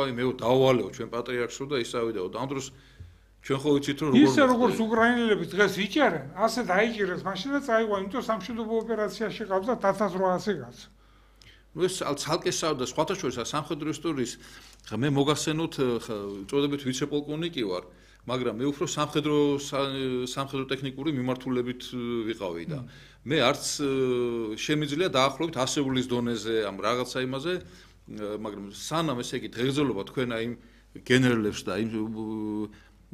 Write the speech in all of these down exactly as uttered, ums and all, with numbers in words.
აი მე დავვალეო ჩვენ პატრიარქს რო და ისავიდაო და ამ დროს ჩვენ ხო ვიცით რომ როგორ ისე როგორც უკრაინელები დღეს იჭერენ, ასე დაიჭირეს მაშინ და წაიღო, იმიტომ სამშვიდობო ოპერაციაში ყავს და ათას რვაასი კაცი. ნუ ეს ცალკე სავდა სხვათა შორის სამხედრო ისტორიის მე მოგახსენოთ წოდებით ვიცე-პოლკოვნიკი ვარ, მაგრამ მე უფრო სამხედრო სამხედრო ტექნიკური მიმართულებით ვიყავი და მე არც შემიძლია დაახლოებით ასეულის დონეზე ამ რაღაცა იმაზე, მაგრამ სანამ ესე იგი დღეგრძელობა თქვენ აი გენერლებს და იმ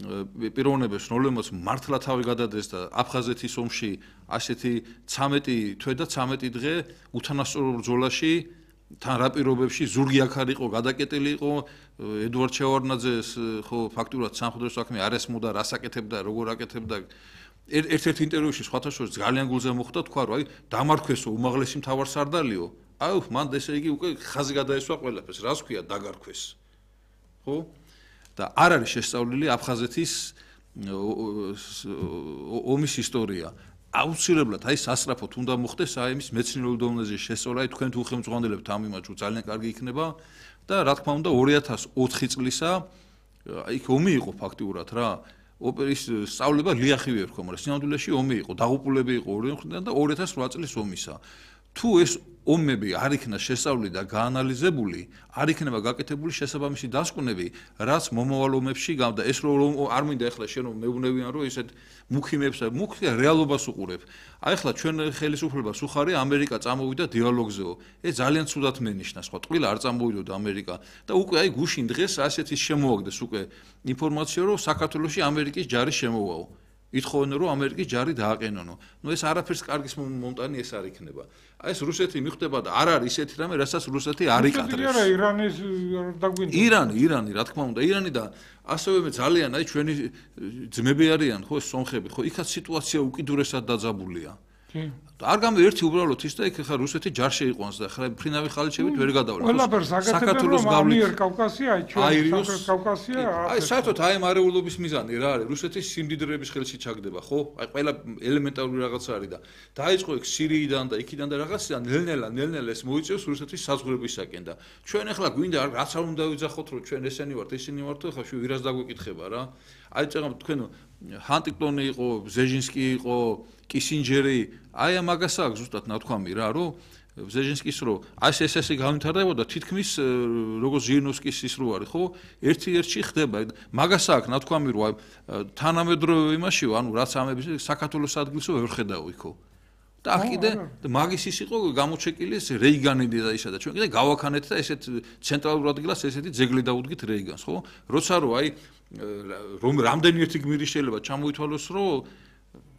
პიროვნებებს რომლებმაც მართლა თავი გადადეს და აფხაზეთის ომში ასეთი ცამეტი თვე და ცამეტი დღე უთანასწორო ბრძოლაში თან რა პირობებში ზურგი აქ არ იყო გადაკეტილი იყო ედუარდ შევარდნაძეს ხო ფაქტურად სამხედრო საქმე არ ესმოდა რას აკეთებდა როგორ აკეთებდა ერთ-ერთ ინტერვიუში სხვათა შორის ძალიან გულზე მოხვდა თქვა რომ აი დამარქვესო უმაღლესი მთავარსარდალიო აი მან ესე იგი უკვე ხაზი გადაესვა ყველაფერს რას ქვია დაგარქვეს ხო და არ არის შესწავლილი აფხაზეთის ომის ისტორია. აუცილებლად აი სასწრაფოდ უნდა მოხდეს აი იმის მეცნიერულ დონეზე შესწავლა, აი თქვენ თუ ხელმძღვანელებთ ამ იმაჩუ ძალიან კარგი იქნება და რა თქმა უნდა ორი ათას ოთხი წლისა იქ ომი იყო ფაქტიურად რა. ოპერის სწავლება ლიახივი ერქვა, მაგრამ სინამდვილეში ომი იყო, დაღუპულები იყო ორი მხრიდან და ორი ათას რვა წლის ომისა. თუ ეს ომები არ იქნა შესწავლილი და გაანალიზებული, არ იქნება გაკეთებული შესაბამისი დასკვნები, რაც მომავალ ომებში გავდა. ეს რომ არ მინდა ახლა შენ რომ მეუბნევიან რომ ესეთ მუქიმებს, მუქი რეალობას უყურებ. აი ახლა ჩვენ ხელისუფლებას უხარია ამერიკა წამოვიდა დიალოგზეო. ეს ძალიან ცუდად მენიშნა, სხვა ტყილა არ წამოვიდოდა ამერიკა და უკვე აი გუშინ დღეს ასეთი შემოაგდეს უკვე ინფორმაცია რომ საქართველოში ამერიკის ჯარი შემოვაო. ითხოვენ რომ ამერიკის ჯარი დააყენონო. ნუ ეს არაფერს კარგის მომტანი ეს არ იქნება. აი ეს რუსეთი მიხვდება და არ არის ისეთი რამე, რასაც რუსეთი არ იკადრებს. არა, ირანის დაგვინდა. ირანი, ირანი, რა თქმა უნდა, ირანი და ასევე ძალიან აი ჩვენი ძმები არიან, ხო, სომხები, ხო, იქაც სიტუაცია უკიდურესად დაძაბულია. არ გამი ერთი უბრალოდ ის და იქ ხა რუსეთი ჯარ შეიყვანს და ხა ფრინავი ხალიჩებით ვერ გადავლა. საქართველოს გავლით კავკასია, ჩვენ კავკასია. აი საერთოდ აი ამ არეულობის მიზანი რა არის? რუსეთის სიმდიდრეების ხელში ჩაგდება, ხო? აი ყველა ელემენტარული რაღაცა არის და დაიწყო იქ სირიიდან და იქიდან და რაღაციდან ნელ-ნელა, ნელ-ნელა ეს მოიწევს რუსეთის საზღვრებისაკენ და ჩვენ ახლა გვინდა რაც არ უნდა ვიძახოთ რომ ჩვენ ესენი ვართ, ისინი ვართ ხა შუ ვირას დაგვეკითხება რა. აი წეგამ თქვენ ჰანტინგტონი იყო, ბზეჟინსკი იყო, კისინჯერი, აი ამაგას აქვს ზუსტად ნათქვამი რა, რომ ბზეჟინსკის რო აი ეს ესე განვითარდებოდა თითქმის როგორც ჟირნოვსკის ის რო არის, ხო? ერთი-ერთში ხდება. მაგას აქვს ნათქვამი რომ თანამედროვე იმაში, ანუ რაც ამების საქართველოს ადგილსო ვერ ხედავ იქო. და აქ კიდე მაგის ის იყო გამოჩეკილი ეს რეიგანი და ისა და ჩვენ კიდე გავაქანეთ და ესეთ ცენტრალურ ადგილას ესეთი ძეგლი დაუდგით რეიგანს, ხო? როცა რო აი რომ რამდენი ერთი გმირი შეიძლება ჩამოითვალოს რომ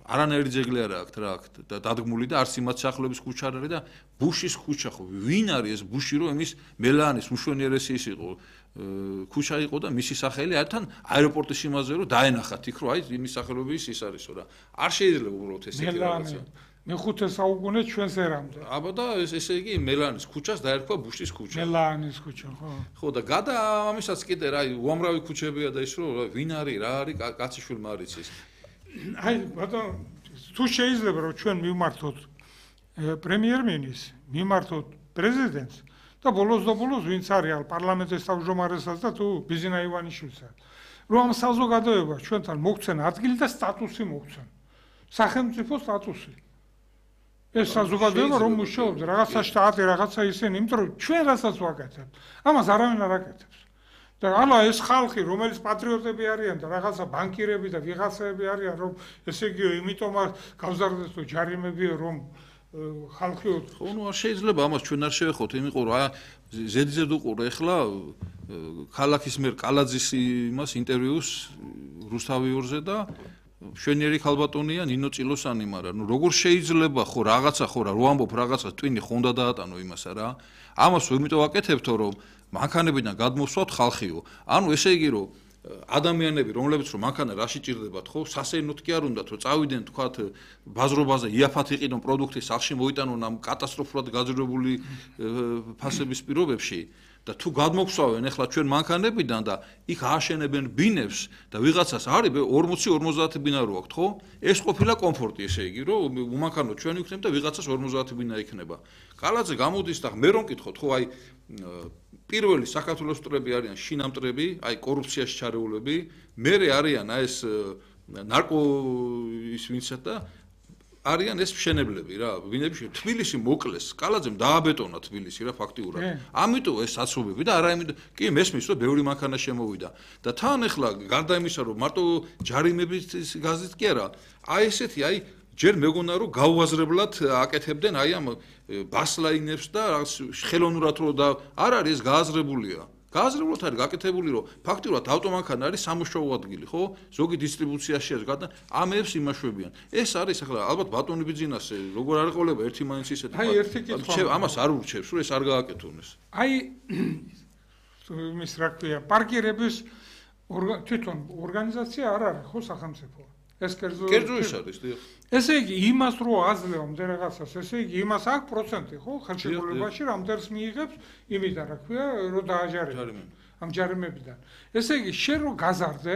არანაირი ძეგლი არ აქვს რა აქ და დადგმული და არც იმათ სახლების ქუჩა არ არის და ბუშის ქუჩა ხო ვინ არის ეს ბუში რომ იმის მელანის უშვენიერესი ის იყო ქუჩა იყო და მისი სახელი ართან აეროპორტის იმაზე რომ დაენახათ იქ რომ აი იმის სახელობის ის არისო რა არ შეიძლება უბრალოდ ესეთი რაღაცა მეხუთე საუკუნე ჩვენს ერამდე. აბა და ესე იგი მელანის ქუჩას დაერქვა ბუშის ქუჩა. მელანის ქუჩა, ხო. ხო და გადა ამისაც კიდე რა უამრავი ქუჩებია და ის რომ ვინ არის, რა არის კაციშვილმა არის ის. აი ბატონო თუ შეიძლება რომ ჩვენ მივმართოთ პრემიერ-მინისტრს, მივმართოთ პრეზიდენტს და ბოლოს და ბოლოს ვინც არის პარლამენტის თავმჯდომარესაც და თუ ბიზინა ივანიშვილსაც. რომ ამ საზოგადოებას ჩვენთან მოგცენ ადგილი და სტატუსი მოგცენ. სახელმწიფო სტატუსი. ეს საზოგადოება რომ მუშაობს რაღაცა შტატი რაღაცა ისინი, იმიტომ რომ ჩვენ რასაც ვაკეთებთ, ამას არავინ არ აკეთებს. და ალა ეს ხალხი, რომელიც პატრიოტები არიან და რაღაცა ბანკირები და ვიღაცები არიან, რომ ესე იგი იმიტომ გავზარდეს თუ ჯარიმებიო რომ ხალხიო ხო ნუ არ შეიძლება ამას ჩვენ არ შევეხოთ, იმიტომ რომ ზედიზედ უყურე ახლა ქალაქის მერ კალაძის იმას ინტერვიუს რუსთავიორზე და შვენიერი ქალბატონია ნინო წილოსანი, მაგრამ ნუ როგორ შეიძლება ხო რაღაცა ხო რა რო ამბობ რაღაცა ტვინი ხო უნდა დაატანო იმასა რა. ამას იმიტომ ვაკეთებთო რომ მანქანებიდან გადმოსვათ ხალხიო. ანუ ესე იგი რომ ადამიანები რომლებიც რომ მანქანა რაში ჭირდებათ ხო სასეირნოდ კი არ უნდათ რომ წავიდნენ თქვათ ბაზრობაზე იაფად იყიდონ პროდუქტი სახში მოიტანონ ამ კატასტროფულად გაძრებული ფასების პირობებში და თუ გადმოგსვავენ ახლა ჩვენ მანქანებიდან და იქ ააშენებენ ბინებს და ვიღაცას არის ორმოცი ორმოცდაათი ბინა რო აქვთ ხო ეს ყოფილა კომფორტი ესე იგი რომ უმანქანო ჩვენ ვიქნებ და ვიღაცას ორმოცდაათი ბინა იქნება კალაძე გამოდის და მე რომ მკითხოთ ხო აი პირველი საქართველოს მტრები არიან შინამტრები, აი კორუფციაში ჩარეულები, მერე არიან აი ეს ნარკო ის ვინცად და არიან ეს მშენებლები რა, ვინები თბილისი მოკლეს, კალაძემ დააბეტონა თბილისი რა ფაქტიურად. ამიტომ ეს საცობები და არა იმიტომ, კი მესმის რომ ბევრი მანქანა შემოვიდა და თან ახლა გარდა იმისა რომ მარტო ჯარიმების გაზეთ კი არა, აი ესეთი აი ჯერ მეგონა რომ გაუაზრებლად აკეთებდნენ აი ამ ბასლაინებს და ხელოვნურად რო და არ არის ეს გააზრებულია. გააზრებლად არის გაკეთებული რომ ფაქტიურად ავტომანქანა არის სამუშაო ადგილი, ხო? ზოგი დისტრიბუციაში არის გადა, ამებს იმაშვებიან. ეს არის ახლა ალბათ ბატონი ბიძინასე, როგორ არ ეყოლება ერთი მაინც ისეთი. აი ერთი კითხვა. ამას არ ურჩევს, რომ ეს არ გააკეთონეს. აი იმის რა ქვია, პარკირების თვითონ ორგანიზაცია არ არის, ხო, სახელმწიფო. ეს კერძო კერძო ის არის, დიახ. ესე იგი, იმას რო აძლევამდე რაღაცას, ესე იგი, იმას აქვს პროცენტი, ხო, ხელშეკრულებაში რამდენს მიიღებს, იმიდან რა ქვია, რომ დააჯარებენ ამ ჯარიმებიდან. ესე იგი, შენ რო გაზარდე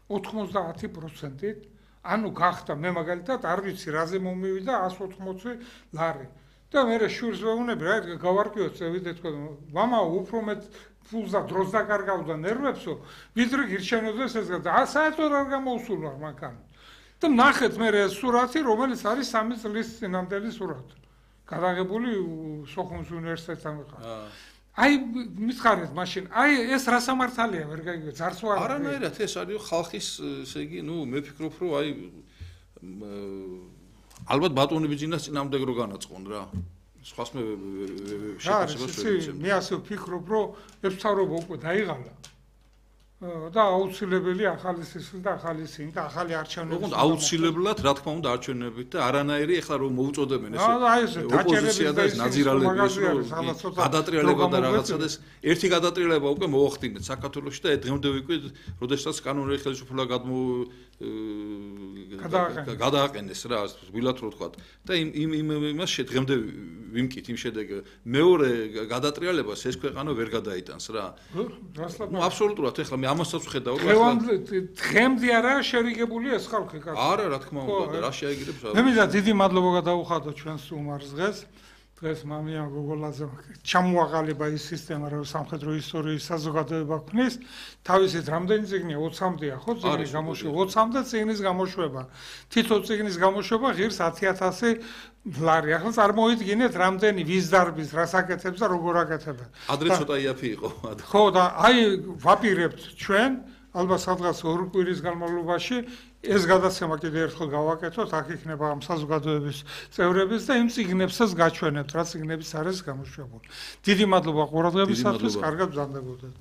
ოთხმოცდაათი პროცენტით, ანუ გახდა მე მაგალითად არ ვიცი რაზე მომივიდა εκατს ოთხმოცი ლარი. და მე შურს ვეუბნები, რა გავარკვიოთ წევიდე თქვა, მამა უფრო მეტ ფულს და დროს დაკარგავდა ნერვებსო, ვიდრე გირჩენოდეს ეს და საერთოდ არ გამოუსულვარ მანქანა. და ნახეთ მე ეს სურათი, რომელიც არის სამი წლის წინამდელი სურათი. გადაღებული სოხუმის უნივერსიტეტთან ხარ. აი მითხარით მაშინ, აი ეს რა სამართალია ვერ გაიგე, ძარცვა არა. არანაირად ეს არის ხალხის, ესე იგი, ნუ მე ფიქრობ, რომ აი ალბათ ბატონი ბიძინას წინამდე რო განაწყონ რა. სხვას მე შეფასებას ვერ ვიცემ. მე ასე ვფიქრობ, რომ ეს მთავრობა უკვე დაიღალა. და აუცილებელი ახალი სისხლი და ახალი სინ და ახალი არჩევნები. ოღონდ აუცილებლად, რა თქმა უნდა, არჩევნებით და არანაირი ახლა რომ მოუწოდებენ ეს ოპოზიცია და ეს ნაძირალები ეს გადატრიალება და რაღაცა და ეს ერთი გადატრიალება უკვე მოახდინეთ საქართველოში და დღემდე ვიკვირ, როდესაც კანონური ხელისუფლება გადმო გადააყენეს რა, ვილად რო თქვა. და იმ იმ იმას შედგემდე ვიმკით იმ შედეგ მეორე გადატრიალებას ეს ქვეყანა ვერ გადაიტანს რა. ნუ აბსოლუტურად ახლა მე ამასაც ვხედავ რომ დღემდე არა შერიგებული ეს ხალხი კარგი. არა რა თქმა უნდა, რა შეაგირებს რა. მე მინდა დიდი მადლობა გადავუხადო ჩვენს უმარს დღეს. დღეს მამიან გოგოლაძე ჩამოაყალიბა ის სისტემა, რომ სამხედრო ისტორიის საზოგადოება ქმნის. თავისით რამდენი წიგნია ოცამდეა, ხო? წიგნის გამოშვება ოცამდე წიგნის გამოშვება. თითო წიგნის გამოშვება ღირს ათი ათასი ლარი. ახლა წარმოიდგინეთ რამდენი ვის დარბის, რას აკეთებს და როგორ აკეთებენ. ადრე ცოტა იაფი იყო. ხო და აი ვაპირებთ ჩვენ ალბათ სადღაც ორ კვირის განმავლობაში ეს გადაცემა კიდევ ერთხელ გავაკეთოთ, აქ იქნება ამ საზოგადოების წევრების და იმ წიგნებსაც გაჩვენებთ, რა წიგნებიც არის გამოშვებული. დიდი მადლობა ყურადღებისათვის, კარგად ბრძანდებოდეთ.